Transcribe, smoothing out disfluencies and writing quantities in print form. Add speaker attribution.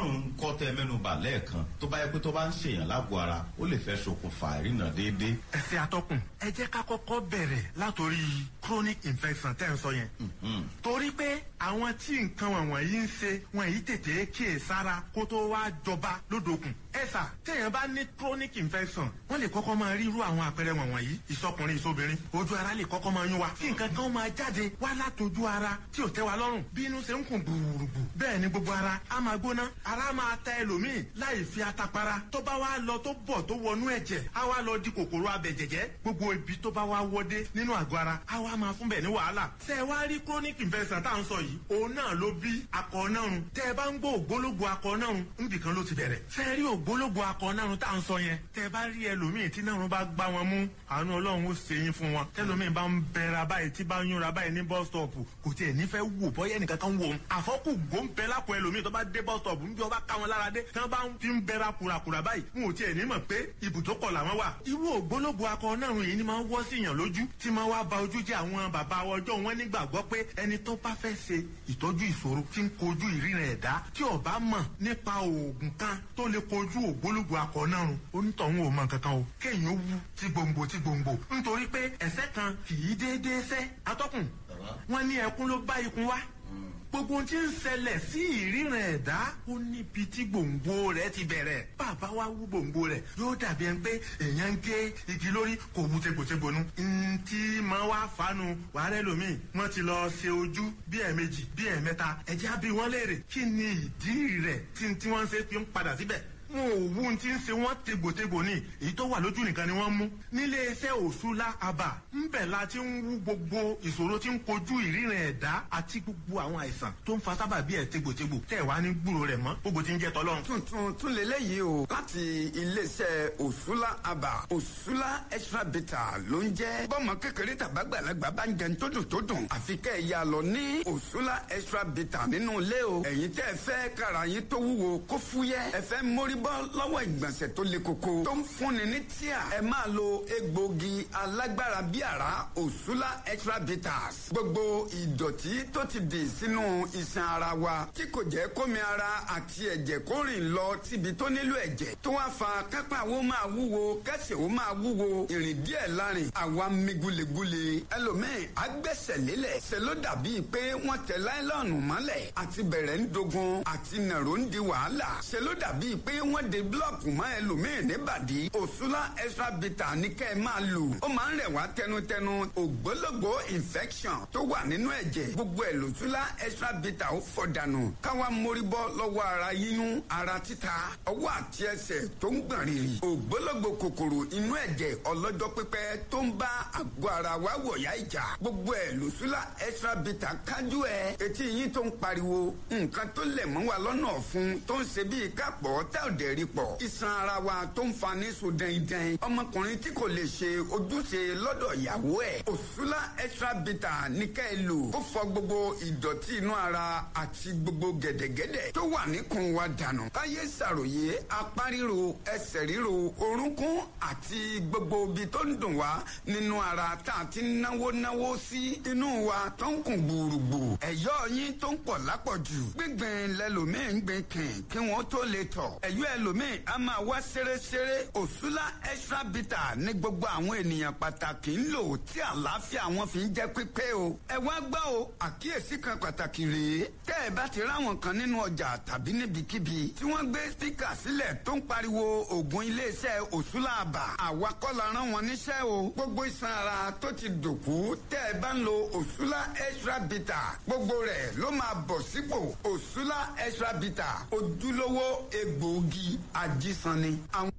Speaker 1: Akọ̀nàrùn kọ́ tẹ mẹ́nu bà lẹ́ẹ̀kan, tó bá yẹ pé tó bá ń ṣèyàn lágọ̀ọ́ ara, ó lè fẹ́ ṣokùnfà ìrìnà déédéé.
Speaker 2: Ẹsẹ̀ atọ́kùn, ẹ jẹ́ ká kọ́kọ́ bẹ̀rẹ̀ látòrí chronic infection tẹ́ ń sọ yẹn, torí pé àwọn tí nǹkan wọ̀nyí ń ṣe wọn yìí tètè kíyè sára kó tó wá jọba lódòkun. Ẹ sà, téèyàn bá ní chronic infection, wọ́n lè kọ́kọ́ máa rí irú àwọn àpẹẹrẹ wọ̀nyí: ìsọkùnrin, ìsobìnrin, ojú ara lè kọ́kọ́ máa yún wa, kí nǹkan kan máa jáde wá látọjú ara tí ò tẹ́ wa lọ́rùn. Bí inú ṣe ń kùn gbùrùgbù, bẹ́ẹ̀ ni gbogbo ara á máa gbóná, ara máa ta ẹlòmíì láì fi atapara. Tó bá wá lọ, tó bọ̀, tó wọnú ẹ̀jẹ̀, á wá lọ di kòkòrò abẹ̀jẹ̀jẹ̀. Gbogbo ibi tó bá wá wọdé nínú àgọ́ ara, á wá máa fún bẹ̀ ní wàhálà. Tẹ́ ẹ wá rí chronic infection tá à ń sọ yìí, òun náà ló bí akọ̀ọ́nárun. Tẹ́ ẹ bá ń gbọ́ ògbólógbò akọ̀ọ́nárun, nbìkan ló ti bẹ̀rẹ̀. Tẹ́ ẹ rí ògbólógbò akọ̀ọ́nárun tá à ń sọ yẹn, tẹ́ ẹ bá rí ẹlòmíì tí nárun bá gbá wọn mú, àánú Ọlọ́run ó ṣe yín fún wọn. Tẹ́lòmíì bá ń bẹ̀rẹ̀ báyìí, tí bá ń yúnra báyìí ní bus stop, kò tiẹ̀ nífẹ̀ẹ́ wò bọ́yẹ́ nìkan kan wò ó. Àfọ́kù gbó ń bẹ lápò ẹlòmíì tó bá dé bus stop, ń bí ọba ká wọn lára dé, tí wọ́n bá ń fi ń bẹ̀rẹ̀ kùràkùrà báyìí, wọn ò tiẹ̀ ní mọ̀ pé ibùdókọ̀ làwọn wà. Irú ògbólógbò akọ náà yìí ni máa ń wọ́ sí yàn lójú, tí máa wá ba ojú jẹ́. Àwọn bàbá ọjọ́ wọn nígbàgbọ́ pé ẹni tó bá fẹ́ ṣe ìtọ́jú ìṣòro tí ń kojú ìríran ẹ̀dá, tí ó bá mọ̀ nípa oògùn kan tó lè kojú ògbólógbò akọ náà rùn, onítọ̀hún ò mọ̀ nǹkan kan o. Kéèyàn wú tí gbòǹgbò tí gbòǹgbò, nítorí pé ẹ̀sẹ̀ kan kì í déédéé sẹ́. Atọ́kùn, wọn ní ẹkún ló bá ikun wá. Gbogbo ohun tí ń ṣẹlẹ̀ sí ìríran ẹ̀dá, ó níbi tí gbòǹgbò rẹ̀ ti bẹ̀rẹ̀. Bàbá wa wú gbòǹgbò rẹ̀, yóò dàbí ẹni pé èèyàn ń gé igi lórí, kò wú tegbòtegbò nu. Ntí máa wá fanu wàhálẹ́ lomi, wọ́n ti lọ ṣe ojú bí ẹ̀ẹ̀mejì, bí ẹ̀ẹ̀mẹ́ta. Ẹ̀jẹ̀ á bí wọ́n léèrè kí ni ìdí rẹ̀ tí wọ́n ń ṣe fi ń padà síbẹ̀. Wọn ò wú ti ń ṣe wọn tegbòtegbò ní, èyí tó wà lójú nìkan ni wọ́n mú. Nílé iṣẹ́ Òṣùlá Àbà ńbẹ̀ la ti ń wú gbogbo ìṣòro tí ń kojú ìríran ẹ̀dá àti gbogbo àwọn àìsàn tó ń fa sábàbí ẹ̀ tegbòtegbò, tẹ̀ wá ní gbúrò rẹ̀ mọ́. Gbogbo ti ń jẹ́ tọ́lọ́run.
Speaker 3: Tuntun tún lélẹ́yìí o láti iléeṣẹ́ Òṣùlá Àbà. Òṣùlá Extra Bitter ló ń jẹ́. Bọ́mọ kékeré tàbágbàlagbà bá ń jẹun tó dùn tó dùn, àfi kẹ́ ẹ̀ ya lọ ní Òṣùlá Extra Bitter nínú ilé o. Ẹ̀yin tẹ́ ẹ fẹ́ kára yín tó wúwo kó fúyẹ́, ẹ fẹ́ mórí bọ́ lọ́wọ́ ìgbọ̀nsẹ̀ tó le koko tó ń fúnni ní tíà, ẹ máa lo egbògi alágbára bí àrá Òṣùlá Extra Bitters. Gbogbo ìdọ̀tí tó ti dì sínú iṣan ara wa tí kò jẹ́ kómi ara àti ẹ̀jẹ̀ kó rìn lọ síbi tó nílò ẹ̀jẹ̀, tó wá fa kápá wo máa wúwo, kẹsẹ̀ wo máa wúwo, ìrìn díẹ̀ lárin àwa mi gulegule. Ẹlòmíì agbẹ́sẹ̀ lélẹ̀, ṣe ló dàbíi pé wọ́n tẹ láìlọ́ọ̀nù mọ́lẹ̀, àti bẹ̀rẹ̀ ń dogun, àti nàró ń di wàhálà, ṣe ló dàbíi pé wọ́n de búlọ̀kù mọ́ ẹlòmíì níbàdí. Òṣùlá Extra Bitter ní kẹ́ ẹ máa lò. Ó máa ń rẹ̀ wá tẹnutẹnu. Ògbólógbò infection tó wà nínú ẹ̀jẹ̀, gbogbo ẹ̀ lòṣùlá Extra Bitter ó fọ̀ dànù. Káwa mórí bọ́ lọ́wọ́ ara yíyún, ara títa, ọwọ́ àti ẹsẹ̀ tó ń gbọ̀n rìrì, ògbólógbò kòkòrò inú ẹ̀jẹ̀ ọlọ́jọ́ pípẹ́ tó ń bá àgọ́ ara wa wọ̀yá ìjà, gbogbo ẹ̀ lòṣùlá Extra Bitter kájú ẹ̀. Etí yín tó ń pariwo, nǹkan tó lẹ̀ mọ́ wa lọ́nà ọ̀fun tó ń ṣe bíi kápọ̀ tá ò dẹ̀ rí pọ̀, iṣan ara wa tó ń fa ní so dẹ́ndẹ́n, ọmọkùnrin tí kò lè ṣe ojúṣe lọ́dọ̀ ìyàwó ẹ̀, Òṣùlá Extra Bitter ní ká ẹ lò. Ó fọ gbogbo ìdọ̀tí inú ara àti gbogbo gẹ̀dẹ̀gẹ̀dẹ̀ tó wà níkùn wa dànù. Káyé ṣàròyé apá ríro, ẹsẹ̀ ríro, orúnkún àti gbogbo ibi tó ń dùn wá nínú ara tá a ti náwó náwó sí inú wa tó ń kùn gbùrùgbù, ẹ̀yọ́ yín tó ń pọ̀ lápọ̀jù, gbígbìn lẹ́lòmíì ń gbìn kìn kí wọ́n tó lè tọ̀, ẹ̀yọ́ ẹlòmíì a máa wá ṣeréṣeré. Òṣùlá Extra Bitter ní gbogbo àwọn ènìyàn pàtàkì ń lò tí àlàáfíà wọn fi ń jẹ́ pípé o. Ẹ wá gbọ́ o, àkíyèsí kan pàtàkì rèé: tẹ́ ẹ bá ti ráwọn kan nínú ọjà tàbí níbikíbi tí wọ́n gbé spíkà sílẹ̀ tó ń pariwo oògùn iléeṣẹ́ Òṣùlá Àbà, àwa kọ́ la rán wọn níṣẹ́ o. Gbogbo iṣan ara tó ti dòkú, tẹ́ ẹ bá ń lo Òṣùlá Extra Bitter, gbogbo rẹ̀ ló máa bọ̀ sípò. Òṣùlá Extra Bitter, ojúlówó egbòogi ajísanni. Àwọn